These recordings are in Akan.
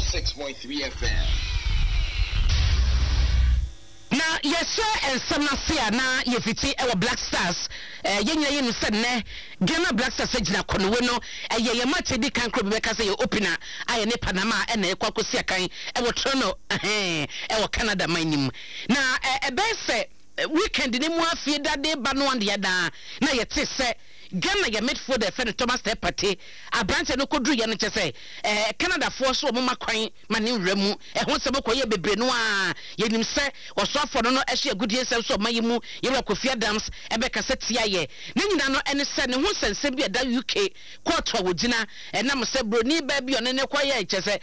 106.3 FM. Na yɛhyɛ nsɛm no ase a na yɛfiti wɔ Black Stars. Eh, yɛn nyinaa yɛnim sɛ nnɛ Ghana Black Stars agyina kɔnowe no. Ɛyɛ yɛn match edi kan koro bi bɛka sɛ yɛ opener a yɛne Panama ɛna ɛkɔ akɔsi akan ɛwɔ Toronto, ɛhɛn, ɛwɔ Canada man no mu. Na eh, ɛbɛyɛ sɛ weekend no mu afie dade ba no adeɛ daa na yɛte sɛ Ghana yɛ midfielder yɛfrɛ no Thomas Teh Partey. Aberanteɛ no kɔduruiɛ no kyɛ sɛ eh, Canadafoɔ so wɔn ma kwan ma ne nwura mu. Ɛho nsɛm kɔyɛɛ bebree no ara. Yɛnim sɛ ɔsoafoɔ no no hyɛ agudeɛ nsɛm so ɔman yi mu, Yɛwura Kofi Adams bɛkasa tiaeɛ. Ne nyinaa no ne sɛ ne ho nsɛnsɛm bi a ɛda UK kɔɔto a wɔgyina ɛnam sɛ broni baa bi a ɔne no kɔyɛɛ kyerɛ sɛ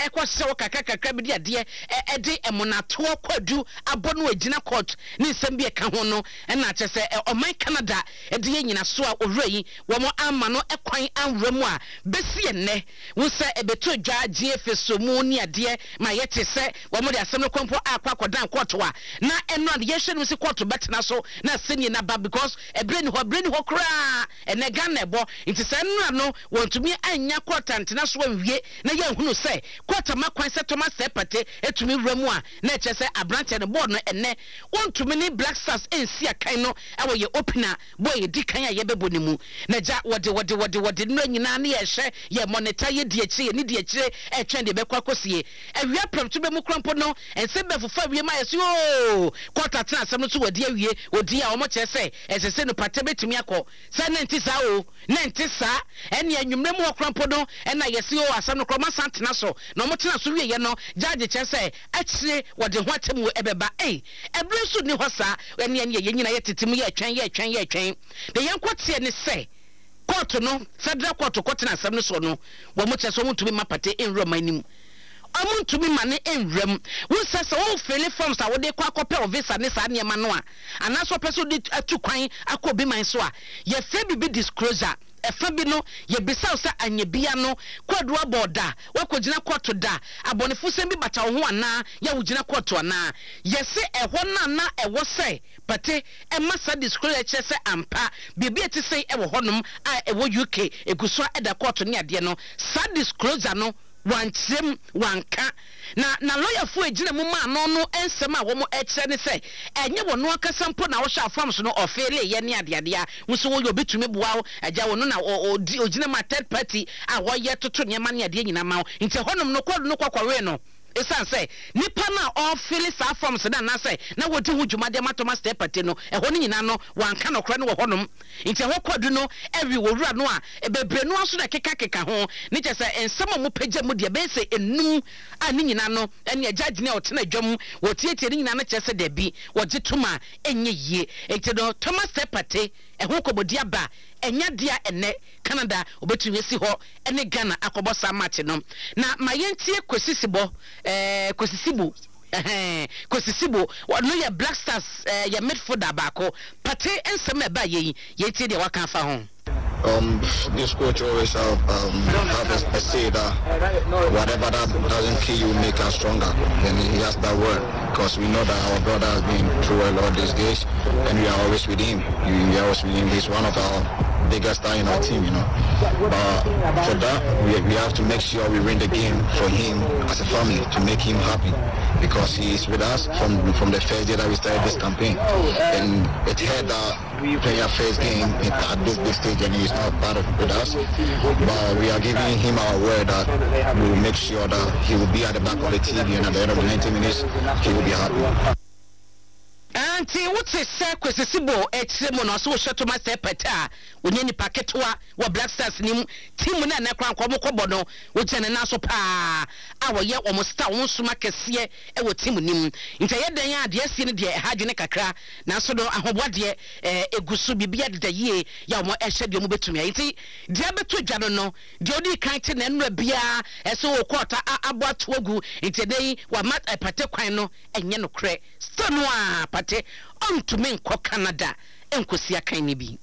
ɛkɔ hyɛ hɔ kakra kakra bi de adeɛ de mmonatoɔ kwadu abɔ no agyina kɔɔto ne nsɛm bi a ɛka ho no na kyerɛ sɛ ɔman Canada de yɛ nyinasoɔ a owura yi wɔn amma no kwan anwura mu a bɛsi ɛnnɛ. Hu sɛ ɛbɛtɔ dwa gye Efeso mu ne adeɛ ma yɛte sɛ wɔde asɛm no kɔ mpo akɔ akɔdan kɔɔto a na ɛno a yɛhwɛ no si kɔɔto bɛtena so na asɛnnie no aba because ɛberɛ ni hɔ ɛberɛ ni hɔ koraa ɛnɛ Ghana ɛbɔ nti saa nnura no wɔntumi annya kɔɔto antena so anwie na yɛnhunu sɛ kɔɔto ama kwan sɛ Thomas Teh Partey tumi wura mu a na ɛkyerɛ sɛ aberanteɛ no bɔɔl no ɛnɛ wɔntumi ne Black Stars nsi akan no ɛwɔ yɛ opener bɔ a yɛdi kan a yɛbɛbɔ no mu. Na gya, wɔde, wɔde, wɔde, wɔde nnora nyinaa ne yɛhwɛ, yɛ monitor, yɛdi akyire, yɛne di akyire, ɛretwɛn deɛ ɛbɛkɔ akɔsie. Awia prɛmto bɛ mu koraa mpo no, nsɛm bɛfofa wiem ayɛ sɛ oo, kɔɔto atena asɛm no so wɔadi awie, wɔdi a wɔkyerɛ sɛ ɛsɛ sɛ no pata bɛtumi akɔ. Sɛ na ɛnte saa oo, na ɛnte saa. Ɛnneɛ anwummerɛ mu hɔ koraa mpo no, ɛna yɛse oo, asɛm no koraa wɔasan atena so. Na wɔtena so wieeɛ no, judge kyerɛ sɛ akyire wɔde ho atemmuo ɛbɛba. Ei! Ɛberɛ nso nni hɔ saa. Ɛnneɛ ɛnneɛ yɛn nyinaa yɛtete mu yɛretwɛn, yɛretwɛn, yɛretwɛn. Deɛ yɛnkɔteɛ ne sɛ, kɔɔto no, federal kɔɔto kɔtena asɛm no soɔ no, wɔn kyerɛ sɛ wɔntumi mma Partey nwura ɔman no mu. Wɔntumi mma no nwura mu. Wohu sɛ sɛ wo fili forms a wode kɔ akɔpɛ wo visa ne saa nneɛma no a, anaasɛ wopɛ sɛ wode atu kwan akɔ obi man so a, yɛfrɛ biribi disclosure. Ɛfa bi no, yɛbisa wo sɛ anyɛ bia no, kwadu abɔ wo da, woakɔgyina kɔɔto da, abɔnefosɛm bi bata wo ho anaa, yɛ a wogyina kɔɔto anaa? Yɛse ɛhɔ no a na ɛwɔ sɛ Pate ma saa disclosure kyerɛ sɛ ampa biribi a ɛte sei wɔ hɔnom a ɛwɔ UK, ɛgu so a ɛda kɔɔto ne adeɛ no, saa disclosure no wankyerɛ mu, wanka. Na na lɔyafoɔ a ɛgyina mu maa no no nsɛm a wɔkyerɛ ne sɛ ɛnyɛ wɔn ankasa mpo na wɔhyɛ forms no ɔfeeleeɛ ne adeadeɛ a wo nso woyɛ obi tumi boa wo agya wo no na ɔgyina mu a third party a wɔyɛ toto nneɛma ne adeɛ nyinaa ma wo nti ɛhɔnom no kɔɔdo no kɔkɔwee no ɛsiane sɛ nipa no a ɔfeele saa forms no anaasɛ na wɔdi ho dwuma de ama Thomas Teh Partey no ɛhɔ no nyinaa no wanka nɔkorɛ no wɔ hɔnom. Nti ɛhɔ kwadu no awi wɔ wura no a bebree no ara nso na ɛkekakeka ho ne kyerɛ sɛ nsɛm a wɔpagya mu deɛ ɛbɛyɛ sɛ enum a ne nyinaa no ɛne agya gyina a ɔtena dwa mu wɔtiatia ne nyinaa no kyerɛ sɛ dabi wɔgye tom a ɛnyɛ yie. Nti no Thomas Teh Partey ɛho nkɔmmɔdi aba a ɛnyɛ adeɛ a ɛnnɛ Canada wɔbɛtumi asi hɔ ne Ghana akɔbɔ saa match no. Na ma yɛntie Kwesi Sibɔ ɛɛ Kwesi Sibo. Ɛhɛn, Kwesi Sibo, ɔno yɛ Black Stars eh, yɛ midfielder baako. Partey nsɛm a ɛbaeɛ yi, yɛntie deɛ waka afa ho. This coach always have a say that whatever that doesn't kill you make us stronger. And he has that word because we know that our brother has been through a lot these days, and we are always with him. We are always with him. He's one of our biggest star in our team. But for that, we have to make sure we win the game for him as a family to make him happy, because he is with us from the first day that we started this campaign. And it had that we play our first game at this big stage and he's not part of with us. But we are giving him our word that we will make sure that he will be at the back of the TV, and at the end of the 90 minutes, he will be happy. Nti wote sɛ Kwesi Sibo kyerɛ mu no, ɔse wohyɛ Thomas Teh Partey a, ɔnyɛ nipa ketewa wɔ Black Stars no mu. Team no a ɛnnɛ koraa nka wɔkɔbɔ no, ɔgyina ne nan so paa a ɔyɛ wɔn star, wɔn soma kɛseɛ wɔ team no mu. Nti ɛyɛ dɛn a deɛ asie no deɛ ɛha adwene kakra, nanso no ahoboa deɛ ɛgu so, biribiara deda yie yɛ a wɔhyɛ deɛ wɔbɛtumi ayɛ. Nti deɛ abɛtɔ dwa no no, deɛ ɔdii kan te na nnora biara ɛsɛ wɔ kɔɔta abɔ ato agu, nti ɛnnɛ yi wama Partey kwan no ɛnyɛ nokorɛ. Still no ara Partey ɔntumi nkɔ Canada nkɔsi akan no bi.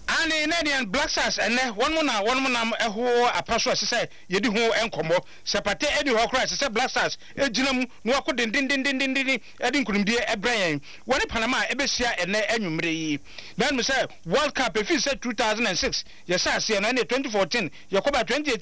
Aane, na ɛneɛ Black Stars ɛnnɛ wɔnom na wɔnom nam ɛho apa so a ɛsɛ sɛ yɛdi ho nkɔmmɔ. Sɛ Partey ɛnni hɔ koraa a ɛsɛ sɛ Black Stars gyina mu na wɔako dendendendendenden de nkunimdie brɛ yɛn. Wɔne Panama ɛbɛhyia ɛnnɛ anwummere yi. Na wonim sɛ World Cup ɛfiri sɛ 2006 yɛhyɛ aseɛ no ɛneɛ 2014 yɛkɔbaa 2018.